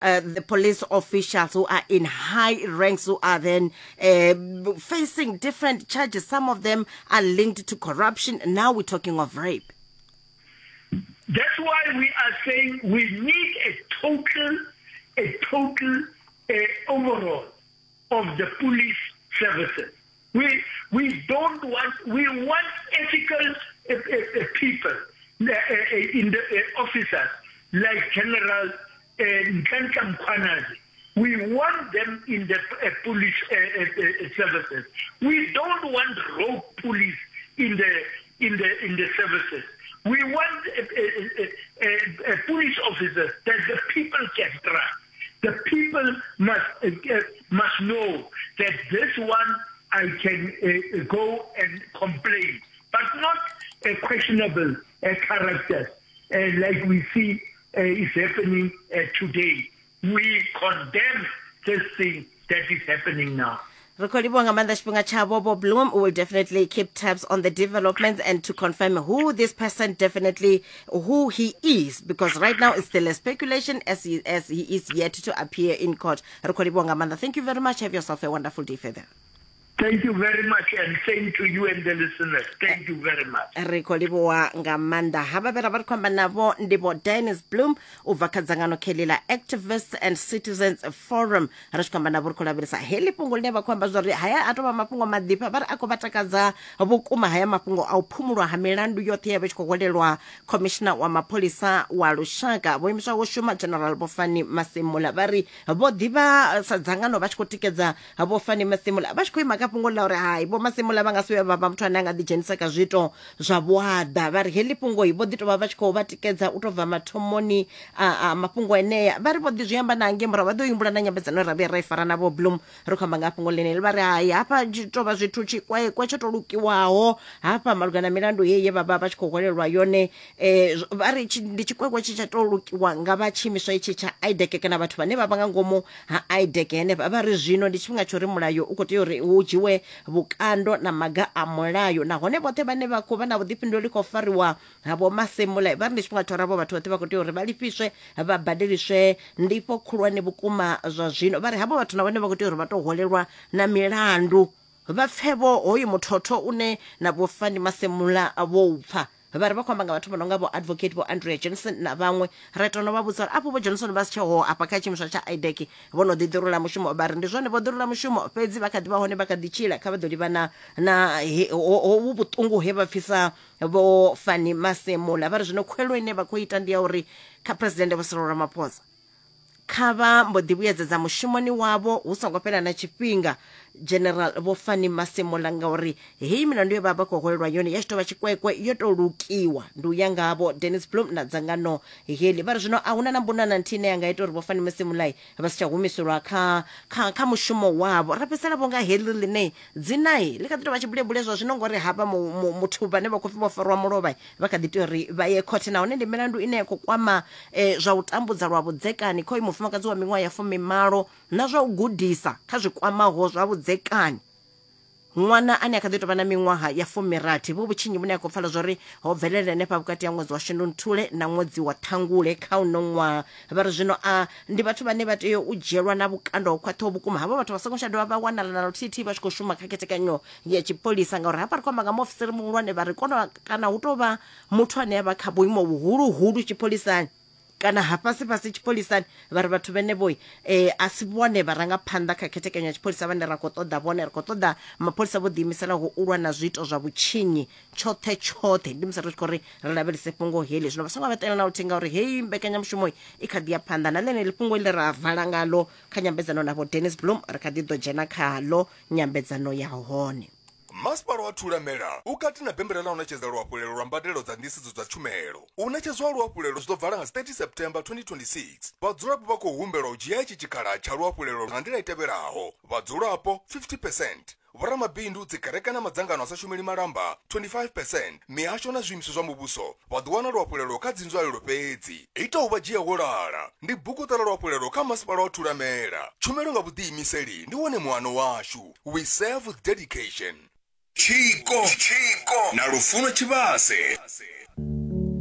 Uh, the police officials who are in high ranks who are then uh, facing different charges. Some of them are linked to corruption. Now we're talking of rape. That's why we are saying we need a total, a total uh, overhaul of the police services. We, we don't want, we want ethical uh, uh, people uh, uh, in the uh, officers like General uh, Nhlanhla Mkhwanazi. We want them in the uh, police uh, uh, uh, services. We don't want rogue police in the in the in the services. We want uh, uh, uh, uh, police officers that the people can trust. The people must uh, uh, must know that this one I can uh, go and complain, but not a questionable uh, characters uh, like we see uh, is happening uh, today. We condemn this thing that is happening now. Ri khou livhuwa nga maanḓa tshifhinga tshavho Vho Bloom. We will definitely keep tabs on the developments and to confirm who this person definitely who he is because right now it's still a speculation as he, as he is yet to appear in court. Ri khou livhuwa nga maanḓa. Thank you very much. Have yourself a wonderful day further. Thank you very much and same to you and the listeners. Thank you very much. Ri khou livhuwa nga maanḓa. Havha vhe ra vha ri khou amba navho ndi Vho Dennis Bloom u bva kha dzangano kheḽi ḽa Activists and Citizens Forum. Ri tshi khou amba navho ri khou lavhelesa heḽi fhungo ḽine vha khou amba zwa uri haya a tou vha mafhungo maḓifha vha ri a khou vha takadza vhukuma haya mafhungo a u phumulwa ha milandu yoṱhe ya vha tshi khou hwelelwa Commissioner wa mapholisa wa lushaka vho imiswaho u shuma General Vho Fannie Masemola. Vha ri vho ḓivha sa dzangano vha tshi khou tikedza Vho Fannie Masemola vha tshi khou ima kha fhungo ḽa uri hai Vho Masemola vha nga si vhuye vha vha muthu ane a nga ḓidzhenisa kha zwiito zwa vhuaḓa. Vha ri heḽi fhungo vho ḓi tou vha vha tshi khou vha tikedza u tou bva mathomoni a, a mafhungo enea. Vha ri vho ḓi zwi amba na ngei murahu vha ḓo humbula na nyambedzano ye ra vhuya ra i fara na Vho Bloom ri khou amba nga ha fhungo ḽeneḽi. Vha ri hai hafha tshi tou vha zwithu tshikwekwe tsho tou lukiwaho hafha malugana na milandu heyi ye vha vha vha tshi khou hwelelwa yone eh, vha ri ndi tshikwekwe tshi tsha tou lukiwa nga vha tshiimiswa itshi tsha IDEC kana vhathu vhane vha vha nga ngomu ha IDEC henefha. Vha ri zwino ndi tshifhinga tsha uri mulayo u khou tea uri hu dzhiwe vhukando na maga a mulayo, nahone vhoṱhe vhane vha khou vha na vhuḓifhinduleli khou fariwa ha Vho Masemula vha ri ndi tshifhinga tsha uri havho vhathu vhoṱhe vha khou tea uri vha lifhiswe vha badeliswe ndifho khulwane vhukuma zwa zwino. Vha ri havho vhathu na vhone vha khou tea uri vha tou hwelelwa na milandu vha pfe-vho hoyu muthotho une na Vho Fannie Masemola vho u pfa. Vha ri vha khou amba nga vhathu vha no nga Vho Advocate Vho Andrea Johnson na vhaṅwe. Ra ita no vha vhudza uri afho Vho Johnson vha si tsheho afha kha tshiimiswa tsha IDAC vho no ḓi ḓirula mushumo. Vha ri ndi zwone vho ḓirula mushumo fhedzi vha kha ḓi vha hone vha kha ḓi tshila kha vha ḓo livhana na hovhu vhuṱungu he vha pfisa Vho Fannie Masemola. Vha ri zwino khuwelelo ine vha khou ita ndi ya uri kha Phresidennde Vho Cyril Ramaphosa kha vha mbo ḓi vhuyedzedza mushumoni wavho hu songo fhela na tshifhinga General Vho Fannie Masemola ngauri heyi milandu ye vha vha khou hwelelwa yone ya tshi tou vha tshikwekwe yo tou lukiwa. Ndi u ya nga Vho Dennis Bloem na dzangano heḽi. Vha ri zwino a huna na mbuno na nthihi ine ya nga ita uri Vho Fannie Masemola vha si tsha humiselwa kha, kha, kha mushumo wavho. Ra fhedzisela vho nga heḽi ḽine dzinai ḽi kha ḓi tou vha tshibulebule zwa zwino ngori havha muthu vhane vha khou pfi vho farwa mulovha vha kha ḓi tea uri vha ye khothe nahone ndi milandu ine ya khou kwama eh, zwa u tambudza lwa vhudzekani khoyu mufumakadzi wa miṅwaha ya fumimalo na zwa u gudisa kha zwi kwamaho zwa vhudzekani ṅwana ane a kha ḓi tovha na miṅwaha ya fumirathi. Vhu vhutshinyi vhune a khou pfala zwori ho bvelela henefha vhukati ha ṅwedzi wa Shundunthule na ṅwedzi wa Ṱhangule kha uno ṅwaha. Vha ri zwino a ndi vhathu vhane vha tea u dzhielwa na vhukando ho khwaṱhaho vhukuma. Havho vhathu vha songo tsha dovha vha wanala na luthihi vha tshi khou shuma kha khethekanyo ya tshipholisa ngauri hafha ri khou amba nga muofisiri muhulwane vha ri kona kana hu tou vha muthu ane a vha kha vhuimo vhuhuluhulu tshipholisani kana ha fhasi fhasi tshipholisani vha ri vhathu vhenevho eh, a si vhone vharangaphanḓa kha khethekanyo ya tshipholisa vhane ra khou ṱoḓa vhone. Ri khou ṱoḓa mapholisa vho ḓiimiselaho u lwa na zwiito zwa vhutshinyi tshoṱhe tshoṱhe. Ndi musi ri tshi khou ri ri lavhelese fhungo heḽi zwino vha songo vha tela na luthihi ngauri heyi mbekanyamushumo i kha ḓi ya phanḓa na ḽeneḽi fhungo ḽe ra vala ngalo kha nyambedzano na Vho Dennis Bloem ri kha ḓi ḓo dzhena khalo nyambedzano ya hone. Masipala wa Thulamela u kati na bembela ḽa u ṋetshedza luhafhulelo lwa mbadelo dza nḓisedzo dza tshumelo. U ṋetshedzwa ha luhafhulelo zwi ḓo vala nga dzi 30 September 2026. Vhadzulapo vha khou humbelwa u dzhia itshi tshikhala tsha luhafhulelo nga nḓila i tevhelaho, vhadzulapo, 50 percent, vhoramabindu, dzikereke na madzangano a sa shumeli malamba, 25 percent, mihasho na zwiimiswa zwa muvhuso vha ḓo wana luhafhulelo kha dzinzwalelo fhedzi. Ita u vha dzhia wo lala ndi buguṱa ḽa luhafhulelo kha Masipala wa Thulamela. Tshumelo nga vhuḓiimiseli ndi wone muano washu. We serve with dedication. Tshiko na Lufuno Tshivhase.